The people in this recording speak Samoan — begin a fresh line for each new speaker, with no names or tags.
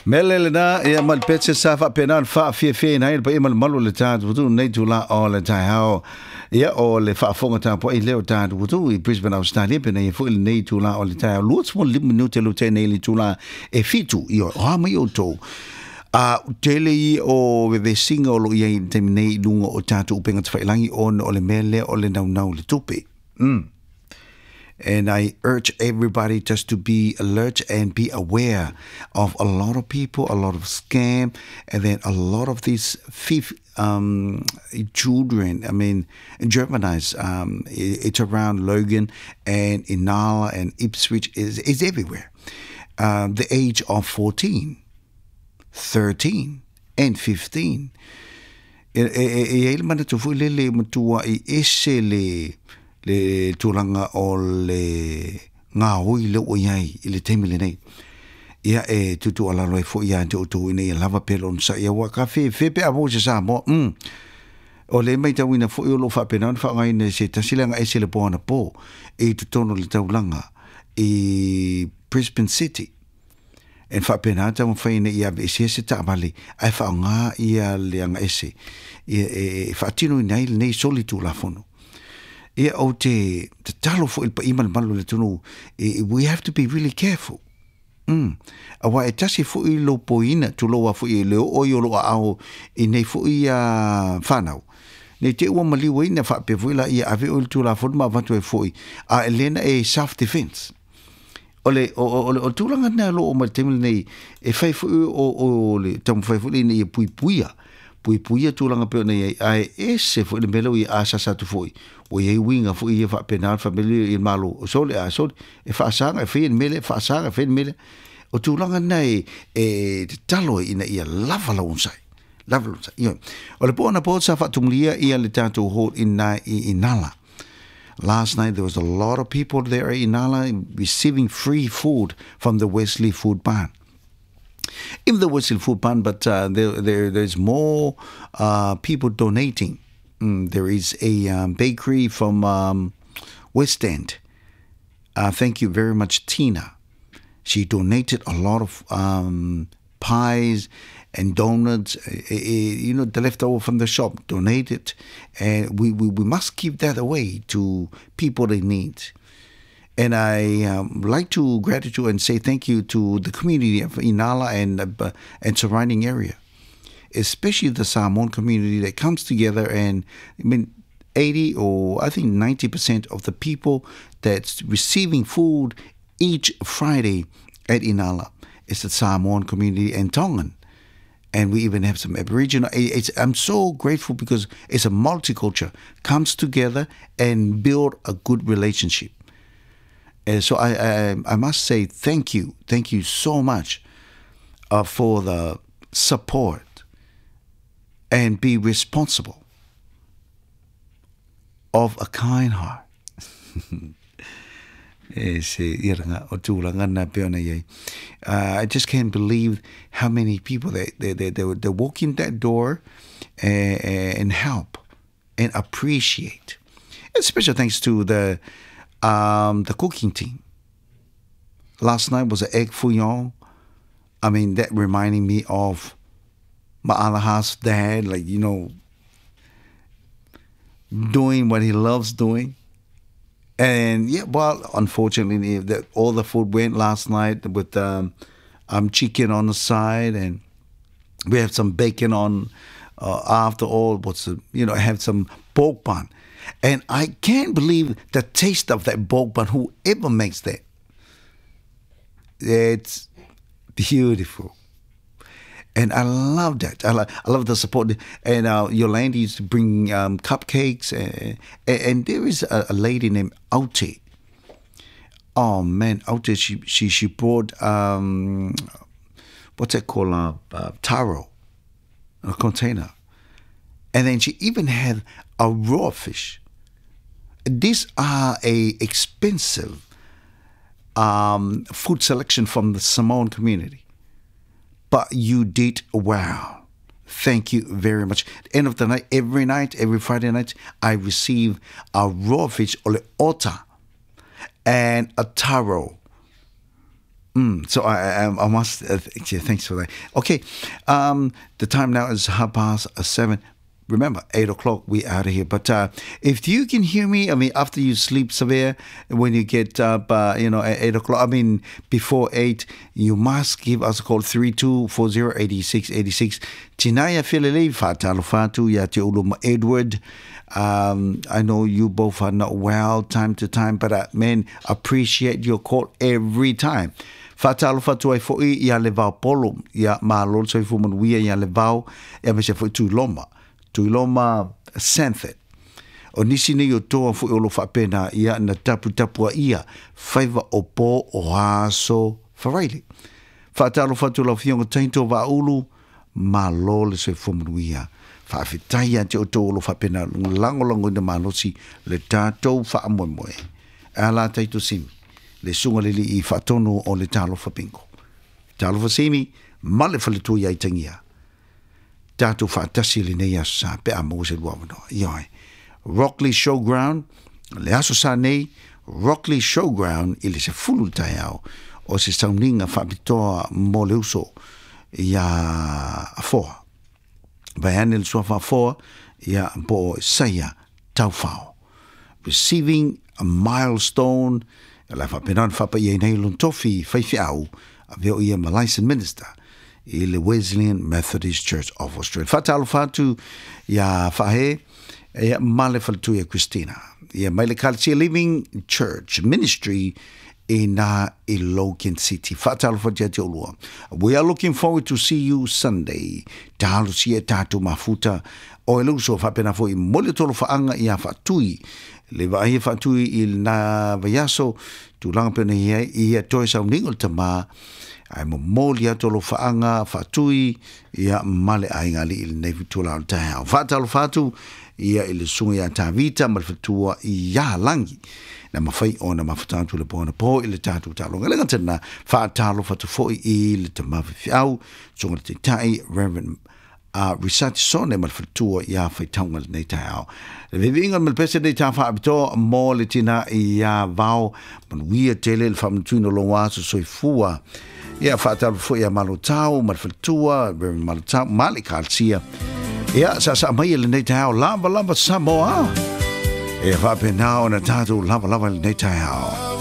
Mele lena ia ma le pese sa faapena ona faafiafiaina ai le paia ma le mamalu o le tatou atunuu i lenei itula o le taeao. Ia, o le faafofoga tapuai lea o tatou atunuu i Brisbane, Australia, pena ia foi lenei itula o le taeao, 25 minute lea ua tea nei i le itula e 7. Ia, o a mai outou? A tele ia o vevesiga o lo o i ai i le taimi nei i luga o tatou upega tafailagi ona o le mea lea o le naunau i le tupe. And I urge everybody just to be alert and be aware of a lot of people, a lot of scam, and then a lot of these children, I mean, juveniles, it's around Logan and Inala and Ipswich, is everywhere. The age of 14, 13, and 15. E i ai le manatu foi lele e matuai ese le le tulaga o le gaoi lea ua i ai i le taimi lenei. Ia e tuutuualalo ai foi ia te outou ina ia lava pea le onosai aua ka fefe pe a maua se Samoa. O le maitauina foi o lo o faapena ona faaaogaina e se tasi leaga ese le po anapo i totonu o le taulaga i Brisbane City. E faapena taumafai ina ia aveesea se taavale ae faaaoga ia le agaese ia e faatinoina ai lenei soli tulafono. Ia ou te tatalo foi i le paia ma le mamalu o le atunuu, we have to be really careful. Aua e tasi foi lou poina, tulou lava foi e le oo ai o lou aao i nei foi fanau, nei te i ua maliu ai na faapea foi la ia ave oe i le Tulafono ma avatu ai foi, a e le na e self defense. O le, o, o, o le tulaga lena o lo o mai le taimi lenei, e fai foi o, o le taumafai foi ina ia puipuia, puipuia tulaga pei ona i ai, ae ese foi le mea lea ua ia asasa atu foi, ua i ai uiga foi ia faapena le family i le Malo, sole a sole, e faasaga e faia le mea lea, faasaga e faia le mea lea. O tulaga na e, e tatalo ai ina ia lava lau onosai, lava lau onosai. Ioe. O le po anapo sa faatumulia ia le tatou hall ina i Inala. Last night there was a lot of people there at Inala receiving free food from the Wesley Food Barn. Even the Wesley Food Barn, but there's more people donating. There is a bakery from West End. Thank you very much, Tina. She donated a lot of pies and donuts, the leftover from the shop, donate it. And we must give that away to people in need. And I like to gratitude and say thank you to the community of Inala and surrounding area, especially the Samoan community that comes together. And I mean, 80 or I think 90% of the people that's receiving food each Friday at Inala is the Samoan community and Tongan. And we even have some Aboriginal. I'm so grateful because it's a multicultural, comes together and build a good relationship. And so I must say thank you. Thank you so much for the support and be responsible of a kind heart. E se iranga o tūranga nā pe ona iai. I just can't believe how many people they walk in that door and help and appreciate. And special thanks to the cooking team. Last night was an egg fouillon. I mean, that reminding me of my other half's dad, doing what he loves doing. And yeah, well, unfortunately, all the food went last night with chicken on the side, and we have some bacon on after all. What's the, you know, have some pork bun. And I can't believe the taste of that pork bun, whoever makes that. It's beautiful. And I love that. I love the support. And Yolanda used to bring cupcakes. And there is a lady named Aute. Oh, man, Aute, she brought, what's that called, taro, a container. And then she even had a raw fish. These are a expensive food selection from the Samoan community. But you did well. Thank you very much. End of the night, every night, every Friday night, I receive a raw fish, or le ota, and a taro. So I must, yeah, thanks for that. Okay, the time now is 7:30. Remember, 8 o'clock, we out of here. But if you can hear me, I mean, after you sleep severe, when you get up, at 8 o'clock, I mean, before 8, you must give us a call, 3240 8686. Tinaya Filili, Fatalo Fatu, ya te ulu Edward. I know you both are not well time to time, but man, appreciate your call every time. Faatalofa atu ai foʻi ia le Vaopolo, ia malo le soifua manuia ia le Vao, ia me se foʻi Tuiloma, Tuiloma Sanford. O nisi nei o toa foʻi o lo faapena ia na taputapuaʻia faiva o po o aso Faraile. Faatalofa atu lau Afioga Taito Vaaulu, malo le soifua manuia. Faafetai ia te outou o lo faapena lagolagoina malosi le tatou faamoemoe. Ala Taito Simi, le suga le lii faatonu o le Talofa Bingo. Talofa Simi, ma le faletua ia itagia. Tatou faatasi lenei aso sa pe a maua se lua avanoa. Ioe. Rockley Showground, le aso sa nei, Rockley Showground i le 10 le taeao o se sauniga faapitoa mo le uso ia Afoa. Vaeane le suafa Afoa, ia po o Saia Taufao. Receiving a milestone, la faapena ona faapaia nei lona tofi faifeau, avea o ia ma licensed minister i le Wesleyan Methodist Church of Australia. Faatalofa atu ia Faahe, ia ma le faletua ia Christina. Ia mai le Kalatia Living Church Ministry i na i Logan City. Faatalofa atu ia te olua. We are looking forward to see you Sunday. Talosia e tatou mafuta o e luso faapena foʻi mo le tolo faaaga ia Faatui. Le vaai e Faatui i na vaiaso, tulaga pena ia ia toe sauniga o le tamā, ae momoli atu lo faaga Faatui ia ma le aiga alii lenei fitula o le taeao. Faatalofa atu ia i le suga ia Tavita ma le faletua ia Lagi na mafai ona mafuta atu le poana po i le tatou taaloga. Le gata faatalofa atu foʻi i le tama faifeau suga le taitai Reverend Risati Sone ma le faletua ia Faitauga lenei taeao. Le viviiga ma le pese nei tā faapitoa mo le tina ia Vao, manuia tele le faamanatuina o lou aso soifua. Ia faatalofa foi ia Malotau ma le faletua, Reverend Malotau, ma le Ekalesia. Ia sa sa mai lenei taeao lava lava Samoa. E faapena ona tatou lava lava lenei taeao.